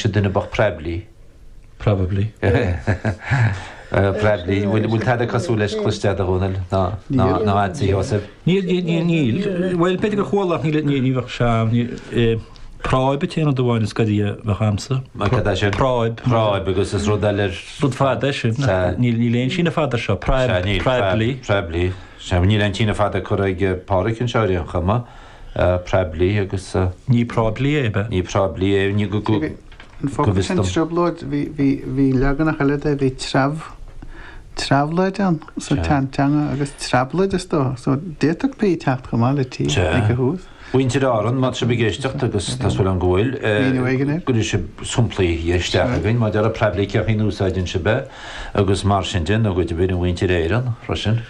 Duine bocht Prebley. Probably. Prebley. Bhfuil tada cosúil leis cloiste agat a Dhónaill ná ná agatsa a Sheosaimh? Níl, níl, níl. Bhuel, b'fhéidir gur chuala ach níl, ní bheadh sé, Práib an t-aon rud amháin is goidí a bheadh a'msa. Cad é sin? Práib. Práib agus is rud eile. Rud fada é sin. Níl, níl aon síneadh fada air seo. Práib, Prebley. Prebley. Sea, níl aon síneadh fada curtha ag Pádhraic anseo ar aon chuma. Prebley agus. Ní Práiblí é, ab ea? Ní Práiblí é, ní go, go, An focal go bhfios sin dom. trioblóid, bhí, bhí, bhí leaganach eile de, bhí treabh, treabhloid ann sa Sea. tseanteanga agus treabloid is dócha. So d'fhéadfadh P teacht chomh maith le T Sea. ag a thús. Mhuintir Árann, má tá sibh ag éisteacht, agus tá súil agam go bhfuil, Míniú éigin air. gcuirfidh sibh samplaí isteach againn maidir le Prebley, cén chaoi a n-úsáideann sibh é, agus mar sin de, nó go deimhin a mhuintir Éireann freisin.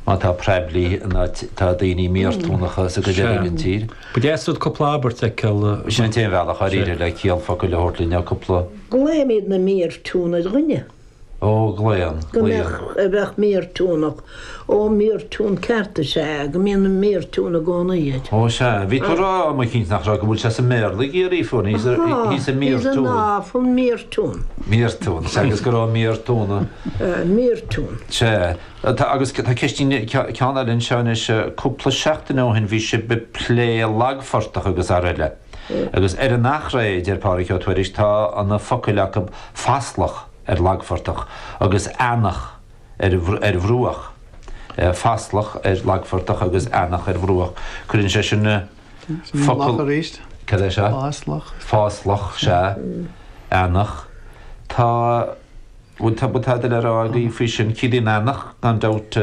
Má tá Prebley in áit tá daoine míoirtiúnacha sa gcuid eile den tír. Ba dheas rud cúpla abairt a fheiceáil. Sin an t-aon bhealach dháiríre le ciall focail a thabhairt linn ná cúpla. Glaoimid na míoirtiún ar dhuine. Ó, glaonn, Go glaonn. mbeadh, a bheadh míoirtiúnach. Ó, míoirtiún ceart is ea, go mbíonn an míoirtiún i gcónaí air. Ó, sea. Bhí tú ag rá am eicínt nach raibh, go bhfuil sé sa mBéarla ag iarraidh, fuair, he's a, he's a He's an míoirtiún. awful míoirtiún. Míoirtiún, sea, agus go raibh míoirtiúna. Míoirtiún. Sea. Tá, agus tá ceistín, ceann eile anseo anois, cúpla seachtain ó shin bhí sibh ag plé lagphortach agus araile. Agus ar an Achréidh, deir Pádraig Ó Tuairisg, tá na focail acu faslach. ar lagphortach agus eanach ar ar bhruach, faslach ar lagphortach agus eanach ar bhruach. Cuireann sé sin na focal. Loch arís. Cad é seo? Fáslach. Fáslach, sea. Eanach. Tá, bhfuil tá, bhfuil tada le rá agaibh faoi sin? Ciallaíonn eanach, gan dabht,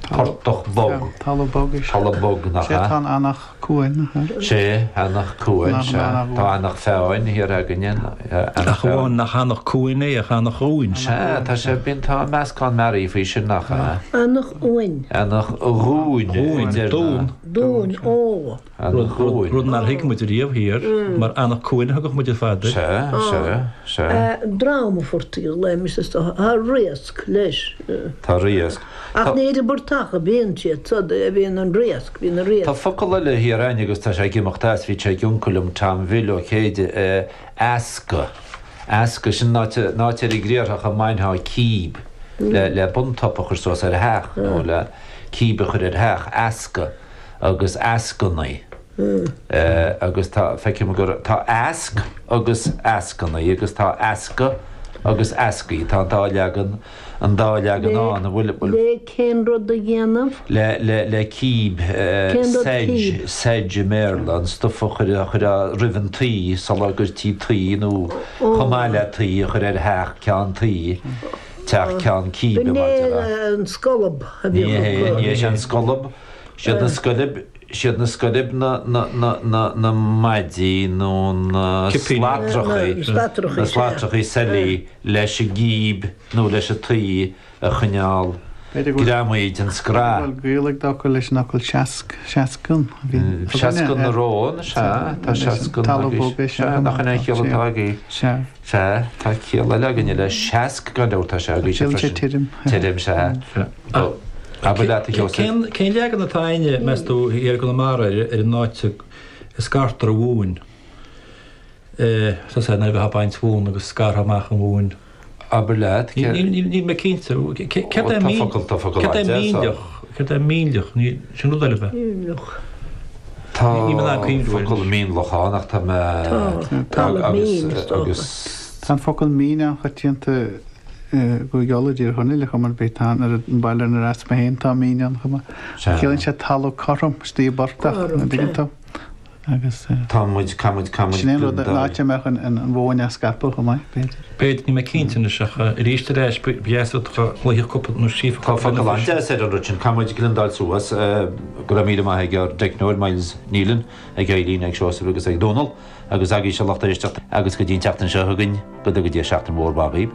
portach bog. Talamh bog is ea. Talamh bog, nach Sea, ea? tá an eanach. Cuain, nach ea? Sea, Eanach Cuain, sea. Tá Eanach Feáin thiar againne, Eanach Ach amháin nach Eanach Cuain é, ach Eanach Dhúin. Sea, tá sé, bíonn, tá meascán mearaí faoi sin, nach ea? Eanach Uain. Eanach Dhúin, Dhúin, deir na. Dún. Dún, ó. Eanach Dhúin. Rud nár thuig muid riamh thiar, mar Eanach Cuain a thugadh muid ar fad air. Sea, sea, sea. Dream a phortaigh a ghlaoimis is dócha. Tá riasc leis. Tá riasc. Ach ní ar an bportach a bhíonn siad, so a bhíonn an riasc, bhíonn an riasc. Tá focal eile thiar a'inn agus tá sé ag imeacht as, bhí sé ag uncail liom, Tom Bhill Ó Céide, easca, easca, sin an áit, an áit ar an gcriathrach a mbainfeá cíb le, le buntop a chur suas ar theach nó le cíb a chur ar theach, easca agus eascannaí. Agus tá, feicim gur, tá easc agus eascannaí agus tá easca agus eascaí, tá an dá leagan, an dá leagan ann, an bhfuil, bhfuil. Le cén rud a dhéanamh? Le, le, le cíb, Cén rud sedge, cíb? sedge i mBéarla, an stuif a chuir, a chuirfeá roimh an tuí sula gcuirtí tuí nó chomh maith le tuí a chur ar theach ceann tuí, teach ceann cíbe B'in mar é déarfá. an scolb a Ní bhíodh hé, acu. ní hé sin an scolb, siad na scoilb, siad na scoilb na, na, na, na, na maidí nó na Cipíní. slatrachaí, Na slatrachaí, na sea. slatrachaí seilí leis an gcíb nó leis an tuí a choinneáil greamaithe den scraith. B'fhéidir go bhfuil gaol ag d'fhocal leis an fhocal seasc, seascann a bhí againne. Seascann na rón, sea, tá seascann Talamh bog é agaibh, sea, nach in é an chiall atá agaibh? Sea. Sea, tá ciall eile againne le seasc gan dabht, tá sé agaibhse Ciallaíonn sé freisin. tirim. Tirim, sea. Abair leat a Sheosaimh. Cén leagan atá againne, meas tú, thiar i gConamara ar an áit a scartar an mhóin? Tá sé nuair a bheifeá ag baint mhóna agus scartha amach an mhóin. Abair leat, cé. Níl mé cinnte. Céard é Tá focal, tá focal Céard é an-deas ann. mínleach? Céard é mínleach? Ní, sin rud eile ab ea? Mínleach. Tá Níl mé in ann cuimhniú air focal anois. mínleach ann ach tá mé Tá. Talamh agus mín, is dócha. agus. Tá an focal mín an-choitianta i gCúige Uladh, i dTír Chonaill, ar chuma ar bith. Tá an baile inar as mé féin, tá mín ann chomh maith. Sea. Ciallaíonn sé talamh cothrom, istigh i bportach, Cothrom, an dtuigeann sea. tú? Agus. Tá muid, caithfidh muid, caithfidh muid Sin é an rud, an gliondáil. áit a mbeadh an mhóin á scaipeadh chomh maith, b'fhéidir. B'fhéidir, níl mé cinnte anois ach arís ar ais, ba dheas dá gcloisfeadh cúpla nó scríofa Tá cúpla focal duine faoi sin. an-deas ar an rud sin, caithfidh muid gliondáil suas. Go raibh míle maith ag ár dteicneoir, Myles Nealon, ag Eileen, ag Seosamh agus ag Dónal, agus agaibhse a lucht éisteachta, agus go dtí an tseachtain seo chugainn, go dtuga Dia seachtain mhór mhaith dhaoibh.